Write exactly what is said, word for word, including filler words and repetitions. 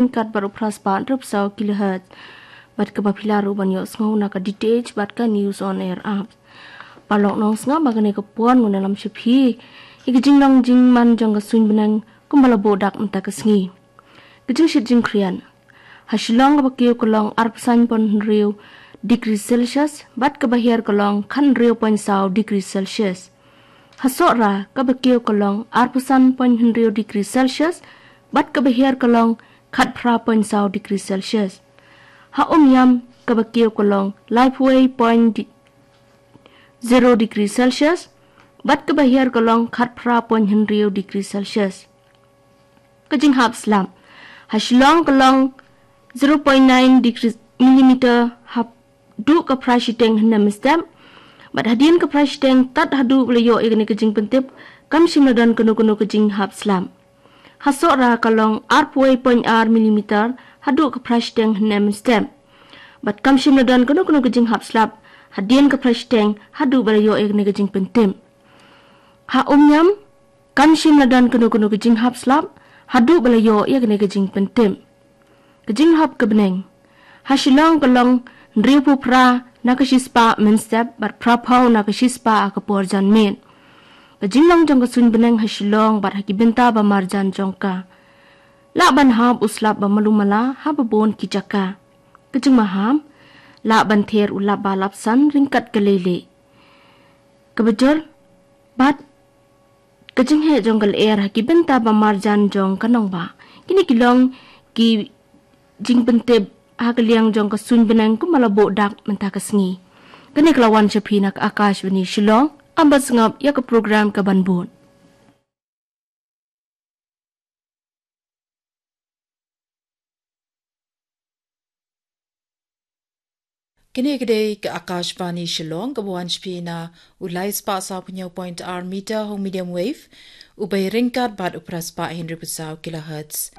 ryngkat bad u phra spah hynriew phew saw kilohertz. Bad kaba phi lah ruh ban ïohsngew na ka D T H bad ka News on Air app. Paralok nongsngap, ba kane ka por ngan ïalam sha phi ïa ka jinglong jingman jong ka suiñ bneng kumba la buh dak mynta ka sngi. Ka jingshit jingkhriat. Ha Shillong kaba kiew ka long arphew san point hynriew degree Celsius bad kaba hiar ka long khathynriew point saw degree Celsius. Ha Sohra kaba kiew ka long arphew san point hynriew degree Celsius bad kaba hiar ka long khatphra point saw degree Celsius. Ha Umiam kaba kiew ka long laiphew wei point zero degree Celsius bad kaba hiar ka long khatphra point hynriew degree Celsius. Ka jinghap slap. Ha Shillong ka long zero point nine degree millimeter haduh ka phra shiteng hynne mynstep. Bad hadien ka phra shiteng tad haduh ba la ïoh ïa kane ka jingpyntip, kam shym la don kano kano ka jinghap slap. Ha Sohra ka long arphew wei point ar millimeter haduh ka phra shiteng hynne mynstep. Bad kam shym la don kano kano ka jinghap slap hadien ka phra shiteng haduh ba la ïoh ïa kane ka jingpyntip. Ha Umiam kam shym la don kano kano ka jinghap slap haduh ba la ïoh ïa kane ka jingpyntip. Ka jinghap ka bneng. Ha Shillong ka long hynriewphew phra na ka shispah mynstep bad phraphew na ka shispah ha ka por janmiet. Ka jinglong jong ka suiñ bneng ha Shillong bad ha ki bynta ba marjan jong ka. Lah ban hap u slap ba malu mala ha babun ki jaka. Ka jingmaham. Lah ban ther u lap ba lapsan ryngkat ka leilieh. Kaba jur bad ka jingheh jong ka lyer ha ki bynta ba marjan jong ka nongbah. Kine ki long ki jingpyntip ha ka liang jong ka suiñ bneng kumba la buh dak mynta ka sngi. Kane ka la wan sha phi na ka Akashvani Shillong. Ym ban sngap ïa ka program kaban bud. Kane ka dei ka Akashvani Shillong, kaba wan sha phi na u lai spah saw phew point ar meter ha u medium wave, u bai ryngkat bad u phra spah hynriew phew saw kilohertz.